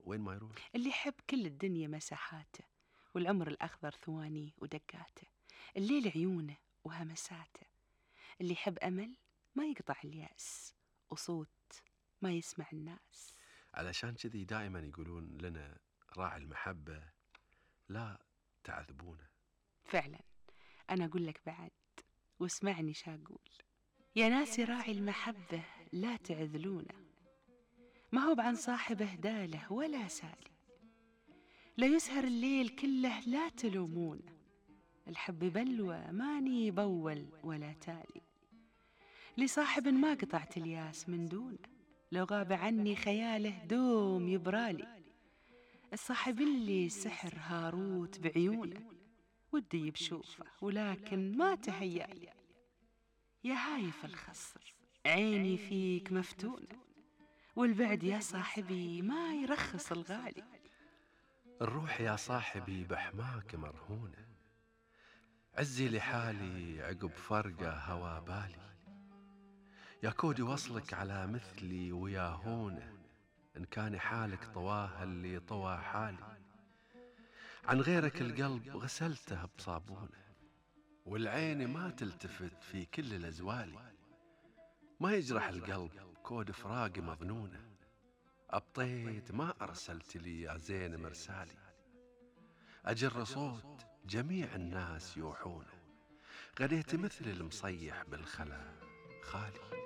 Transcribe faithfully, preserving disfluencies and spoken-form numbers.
وين ما يروح. اللي يحب كل الدنيا مساحاته، والعمر الأخضر ثوانيه ودقاته، الليل عيونه وهمساته. اللي يحب أمل ما يقطع اليأس، وصوت ما يسمع الناس. علشان كذي دائما يقولون لنا راعي المحبة لا تعذبونه. فعلا أنا أقول لك بعد، واسمعني شاقول، يا ناسي راعي المحبة لا تعذلونه، ما هو بعن صاحبه داله ولا سالي، لا يسهر الليل كله لا تلومونه، الحب بلوى ماني بول ولا تالي، لصاحب ما قطعت الياس من دونه، لو غاب عني خياله دوم يبرالي، الصاحب اللي سحر هاروت بعيونه، ودي بشوفه ولكن ما تهيالي، يا هايف الخصر عيني فيك مفتونة، والبعد يا صاحبي ما يرخص الغالي. الروح يا صاحبي بحماك مرهونة، عزي لحالي عقب فرقة هوا بالي، يا كودي وصلك على مثلي ويا هونه، إن كان حالك طواه اللي طوى حالي، عن غيرك القلب غسلته بصابونه، والعين ما تلتفت في كل الأزوالي، ما يجرح القلب كود فراق مظنونه، أبطيت ما أرسلت لي يا زين مرسالي، أجر صوت جميع الناس يوحونه، غديت مثل المصيح بالخلا خالي.